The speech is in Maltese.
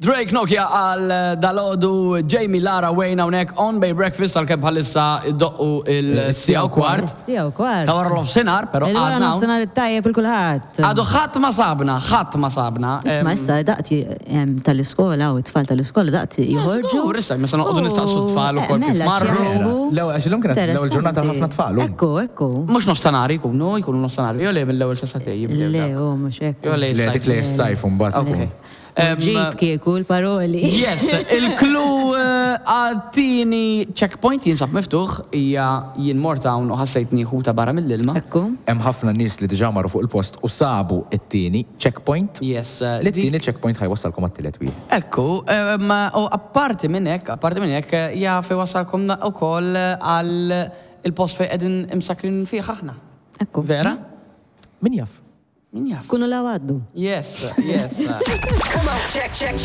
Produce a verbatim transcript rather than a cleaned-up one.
Drake Nokia għal dalgħodu, Jamie, Lara, Wayne hawnhekk on Bay Breakfast, għal kemm bħalissa iddoqqu il-siegħa u kwart. Siegħa u kwart. Ta' wara nofsinhar, però Il-wara għadna hawn. Nofsinhar it-tajjeb lil kulħadd. Għadu ħadd ma sabna, ħadd ma sabna. Isma', issa daqt em, tal-iskola u t-tfal tal-iskola daqt joħorġu. Żgur, issa, meta noqogħdu nistaqsu t-tfal ukoll kif Mela, marru. x'jaħsbu? L-ewwel, għax illum kienet l-ewwel ġurnata ħafna tfal, u. Ekku, ekku. Mhux nofstanhar jkunu, jkunu nofstanhar. Jo le, mill-ewwel sa sagħtejn jibdew Le, dak. u mhux hekk. Jo le, Le, dik li s-sajf mbagħad. Ok. Em, Ġib kieku l-paroli. Yes, il-clue eh, għat-tieni checkpoint jinsab miftuħ, hija jien mort hawn u ħassejtni ħuta barra mill-ilma. Ekku. Hemm ħafna nies li diġà marru fuq il-post u sabu it-tieni checkpoint. Yes, eh, Li t-tieni checkpoint ħa jwassalkom għat-tielet wieħed. Ekku, em, u apparti minn hekk, apparti minn hekk, jaf iwassalkom ukoll għal il-post fejn qegħdin imsakrin fih aħna. Ekku. Vera? Min jaf? Min jaf? Kunu la għaddu. Yes, yes. Come on, check, check,